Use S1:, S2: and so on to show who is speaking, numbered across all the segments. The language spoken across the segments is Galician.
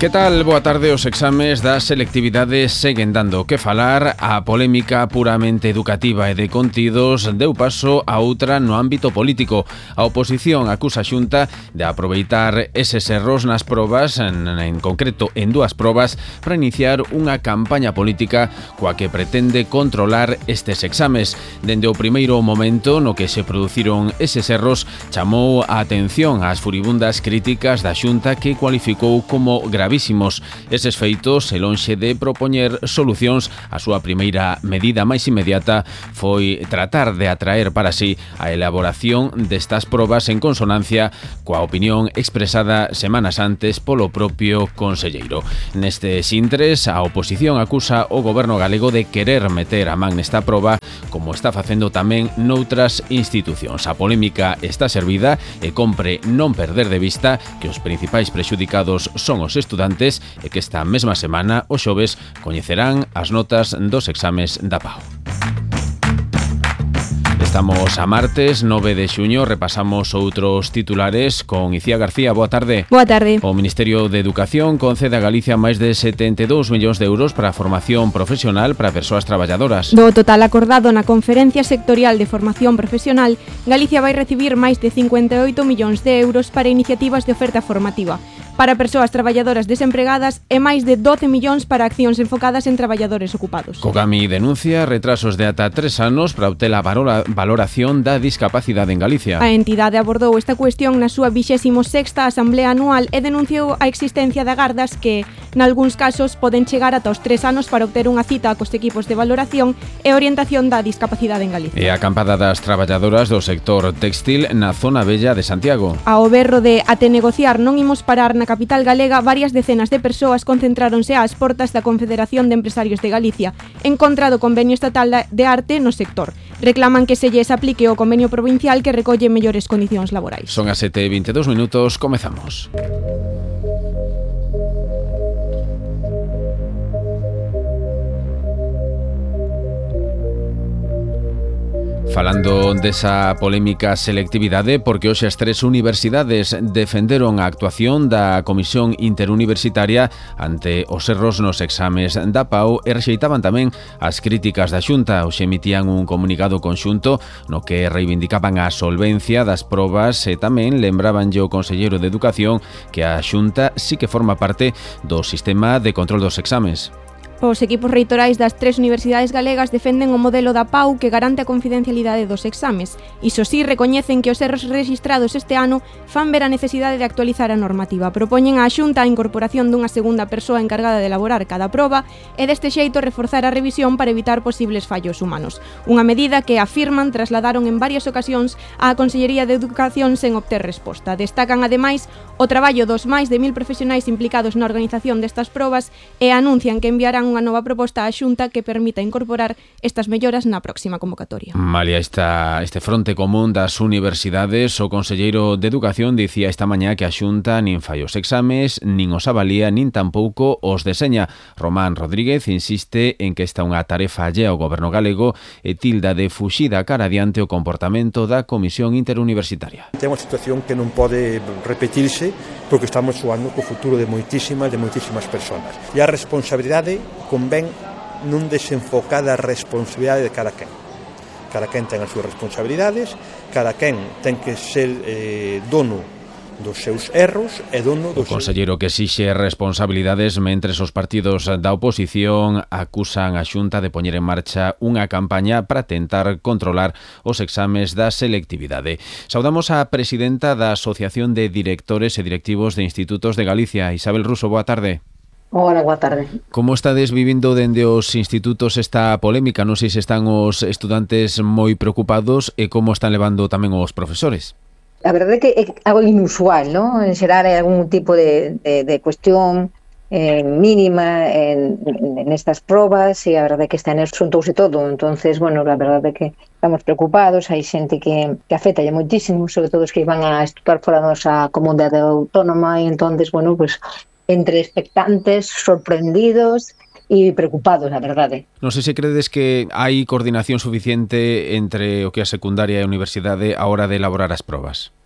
S1: Que tal? Boa tarde. Os exames das selectividades seguen dando que falar. A polémica puramente educativa e de contidos deu paso a outra no ámbito político. A oposición acusa a Xunta de aproveitar eses erros nas probas, en concreto en dúas probas, para iniciar unha campaña política coa que pretende controlar estes exames. Dende o primeiro momento no que se produciron eses erros, chamou a atención ás furibundas críticas da Xunta, que cualificou como gravísimos. Eses feitos, e lonxe de propoñer solucións, a súa primeira medida máis inmediata foi tratar de atraer para sí a elaboración destas probas en consonancia coa opinión expresada semanas antes polo propio conselleiro. Neste intres, a oposición acusa o goberno galego de querer meter a man nesta proba, como está facendo tamén noutras institucións. A polémica está servida e compre non perder de vista que os principais prexudicados son os estudantes e que esta mesma semana, o xoves, coñecerán as notas dos exames da PAU. Estamos a martes 9 de xuño, repasamos outros titulares con Icía García. Boa tarde.
S2: Boa tarde.
S1: O Ministerio de Educación concede a Galicia máis de 72 millóns de euros para a formación profesional para persoas traballadoras.
S2: Do total acordado na Conferencia Sectorial de Formación Profesional, Galicia vai recibir máis de 58 millóns de euros para iniciativas de oferta formativa para persoas traballadoras desempregadas e máis de 12 millóns para accións enfocadas en traballadores ocupados.
S1: Cogami denuncia retrasos de ata 3 anos para obter a valoración da discapacidade en Galicia.
S2: A entidade abordou esta cuestión na súa 26ª Asamblea Anual e denunciou a existencia de agardas que, nalgúns casos, poden chegar ata os 3 anos para obter unha cita cos equipos de valoración e orientación da discapacidade en Galicia.
S1: E a acampada das traballadoras do sector textil na zona bella de Santiago.
S2: Ao berro de "Até negociar non imos parar" na capital galega, varias decenas de persoas concentráronse ás portas da Confederación de Empresarios de Galicia en contra do convenio estatal de arte no sector. Reclaman que se lles aplique o convenio provincial que recolle mellores condicións laborais.
S1: Son as 7:22, comezamos. Falando desa polémica selectividade, porque hoxe as 3 universidades defenderon a actuación da Comisión Interuniversitaria ante os erros nos exames da PAU e rexeitaban tamén as críticas da Xunta. Hoxe emitían un comunicado conxunto no que reivindicaban a solvencia das probas e tamén lembrabanlle o conselleiro de Educación que a Xunta sí que forma parte do sistema de control dos exames.
S2: Os equipos reitorais das 3 universidades galegas defenden o modelo da PAU que garante a confidencialidade dos exames. Iso sí, recoñecen que os erros rexistrados este ano fan ver a necesidade de actualizar a normativa. Propoñen á Xunta a incorporación dunha segunda persoa encargada de elaborar cada proba e deste xeito reforzar a revisión para evitar posibles fallos humanos. Unha medida que, afirman, trasladaron en varias ocasións á Consellería de Educación sen obter resposta. Destacan, ademais, o traballo dos máis de 1000 profesionais implicados na organización destas probas e anuncian que enviarán unha nova proposta á Xunta que permita incorporar estas melloras na próxima convocatoria.
S1: Malia este fronte común das universidades, o conselleiro de Educación dicía esta mañá que a Xunta nin fai os exames, nin os avalía, nin tampouco os deseña. Román Rodríguez insiste en que esta é unha tarefa allea ao goberno galego e tilda de fuxida cara adiante o comportamento da Comisión Interuniversitaria.
S3: Ten unha situación que non pode repetirse porque estamos xogando co futuro de moitísimas persoas. E a responsabilidade convén non desenfocar a responsabilidade de cada quen. Cada quen ten as súas responsabilidades, cada quen ten que ser dono dos seus erros e dono dos...
S1: O conselleiro que exixe responsabilidades mentres os partidos da oposición acusan a Xunta de poñer en marcha unha campaña para tentar controlar os exames da selectividade. Saudamos a presidenta da Asociación de Directores e Directivos de Institutos de Galicia, Isabel Ruso. Boa tarde.
S4: Hola, boa tarde.
S1: Como estades vivindo dende os institutos esta polémica? Non sei se están os estudantes moi preocupados e como están levando tamén os profesores.
S4: A verdade é que é algo inusual, ¿no? En xeral hai algún tipo de cuestión mínima en estas probas e a verdade é que este ano xuntouse todo. Entonces, bueno, a verdade é que estamos preocupados, hai xente que afecta ya moitísimo, sobre todo os que van a estudar fora da nosa comunidade autónoma e entonces, bueno, pues entre expectantes, sorprendidos e preocupados, a verdade.
S1: Non sei se credes que hai coordinación suficiente entre o que é a secundaria e a universidade a hora de elaborar as probas.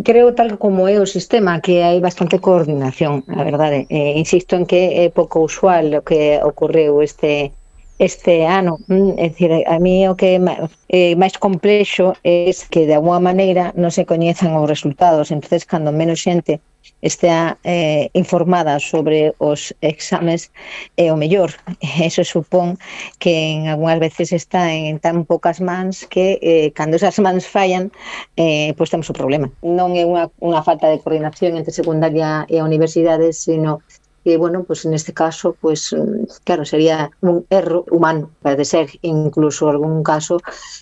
S4: Creo, tal como é o sistema, que hai bastante coordinación, a verdade. Insisto en que é pouco usual o que ocorreu este ano. É dicir, a mí o que é máis complexo é que de alguma maneira non se coñezan os resultados. Entonces, cando menos xente estea informada sobre os exames é o mellor. Eso supón que en algunhas veces está en tan poucas mans que cando esas mans fallan, pois temos o problema. Non é unha falta de coordinación entre secundaria e a universidade, sino que, bueno, pues neste caso, pues claro, sería un erro humano, pode ser, incluso algún caso,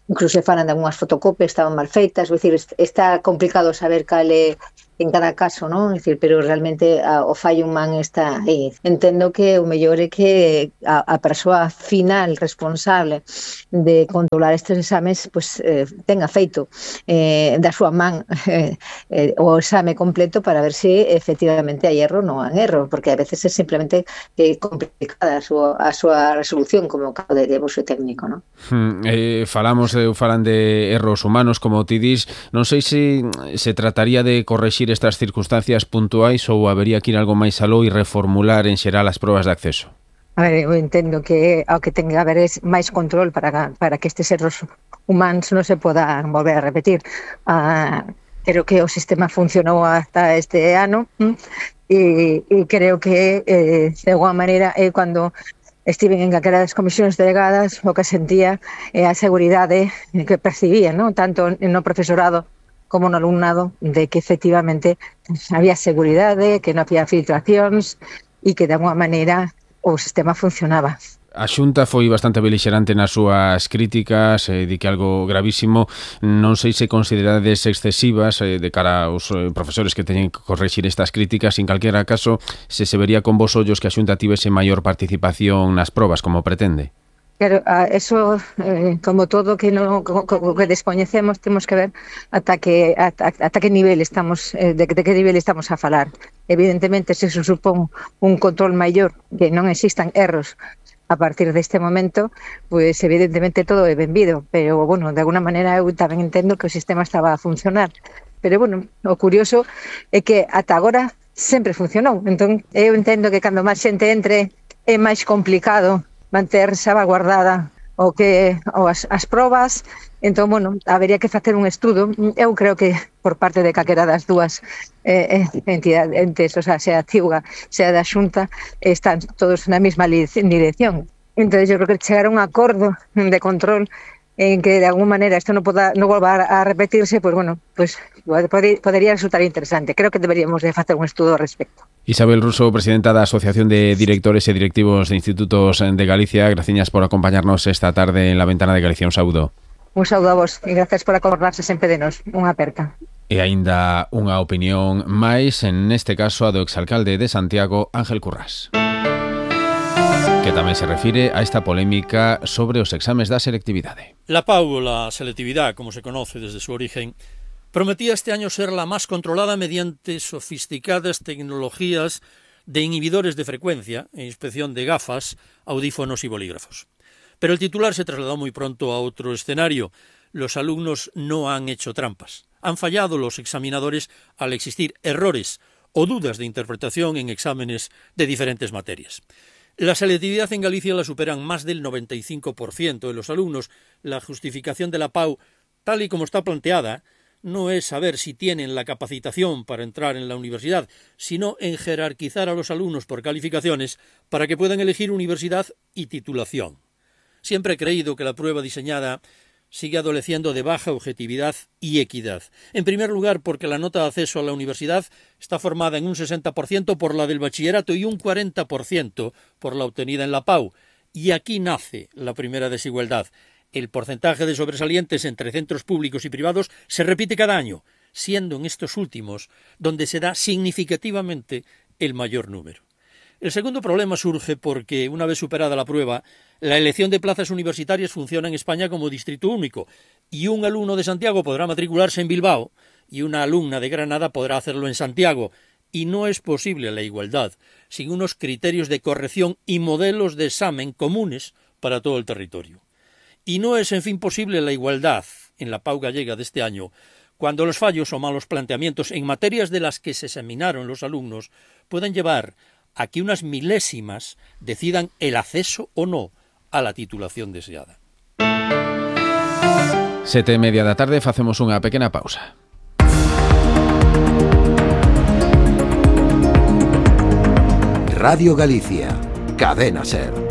S4: incluso se falan de algunhas fotocopias estaban mal feitas, é dicir, está complicado saber cal é en cada caso, non? É dicir, pero realmente o fallo humano está aí. Entendo que o mellor é que a persoa final responsable de controlar estes exames pues, tenga feito da súa man o exame completo para ver se efectivamente hai erro ou non hai erro, porque a veces é simplemente complicada a súa resolución, como o caso de vosso técnico, non?
S1: Falan de erros humanos, como ti dis. Non sei se trataría de correxir estas circunstancias puntuais ou habería que ir algo máis aló e reformular en xeral as probas de acceso.
S4: A ver, eu entendo que ao que ten que haber é máis control para que estes erros humanos non se podan volver a repetir. Creo que o sistema funcionou hasta este ano e creo que de alguma maneira cando estiven en calquera das comisións delegadas o que sentía é a seguridade que percibía, ¿no? Tanto no profesorado como no alumnado, de que efectivamente había seguridade, que non había filtracións e que de alguma maneira o sistema funcionaba.
S1: A Xunta foi bastante belixerante nas súas críticas, di que algo gravísimo. Non sei se considerades excesivas de cara aos profesores que teñen que correxir estas críticas. En calquera caso, se vería con vos ollos que a Xunta tivese maior participación nas probas, como pretende.
S4: Claro, eso, como todo que descoñecemos, temos que ver ata que nivel estamos, de que nivel estamos a falar. Evidentemente, se supón un control maior, que non existan erros a partir deste momento, pues evidentemente todo é benvido, pero, bueno, de alguna maneira eu tamén entendo que o sistema estaba a funcionar. Pero, bueno, o curioso é que ata agora sempre funcionou. Entón, eu entendo que cando máis xente entre é máis complicado manter salvaguardada as probas. Entón, bueno, habería que facer un estudo. Eu creo que por parte de calquera das dúas entidades, o sea a CIUGA, sea da Xunta, están todos na mesma dirección. Entón, eu creo que chegar a un acordo de control en que de alguna maneira isto non volva a repetirse, pues bueno, pues podería resultar interesante. Creo que deberíamos de facer un estudo ao respecto.
S1: Isabel Russo, presidenta da Asociación de Directores e Directivos de Institutos de Galicia, graciñas por acompañarnos esta tarde en La Ventana de Galicia. Un saúdo.
S4: Un saúdo a vos e gracias por acordarse sempre de nos. Unha aperta.
S1: E aínda unha opinión máis, neste caso a do exalcalde de Santiago, Ángel Currás, que tamén se refire a esta polémica sobre os exames da selectividade.
S5: La PAU, la selectividad, como se conoce desde su origen, prometía este año ser la más controlada mediante sofisticadas tecnologías de inhibidores de frecuencia e inspección de gafas, audífonos y bolígrafos. Pero el titular se trasladó muy pronto a otro escenario. Los alumnos no han hecho trampas. Han fallado los examinadores al existir errores o dudas de interpretación en exámenes de diferentes materias. La selectividad en Galicia la superan más del 95% de los alumnos. La justificación de la PAU, tal y como está planteada, no es saber si tienen la capacitación para entrar en la universidad, sino en jerarquizar a los alumnos por calificaciones para que puedan elegir universidad y titulación. Siempre he creído que la prueba diseñada sigue adoleciendo de baja objetividad y equidad. En primer lugar, porque la nota de acceso a la universidad está formada en un 60% por la del bachillerato y un 40% por la obtenida en la PAU. Y aquí nace la primera desigualdad. El porcentaje de sobresalientes entre centros públicos y privados se repite cada año, siendo en estos últimos donde se da significativamente el mayor número. El segundo problema surge porque, una vez superada la prueba, la elección de plazas universitarias funciona en España como distrito único, y un alumno de Santiago podrá matricularse en Bilbao y una alumna de Granada podrá hacerlo en Santiago, y no es posible la igualdad sin unos criterios de corrección y modelos de examen comunes para todo el territorio. Y no es, en fin, posible la igualdad en la PAU gallega de este año cuando los fallos o malos planteamientos en materias de las que se examinaron los alumnos pueden llevar a que unas milésimas decidan el acceso o no a la titulación deseada.
S1: 7:30 da tarde, facemos unha pequena pausa.
S6: Radio Galicia, Cadena SER.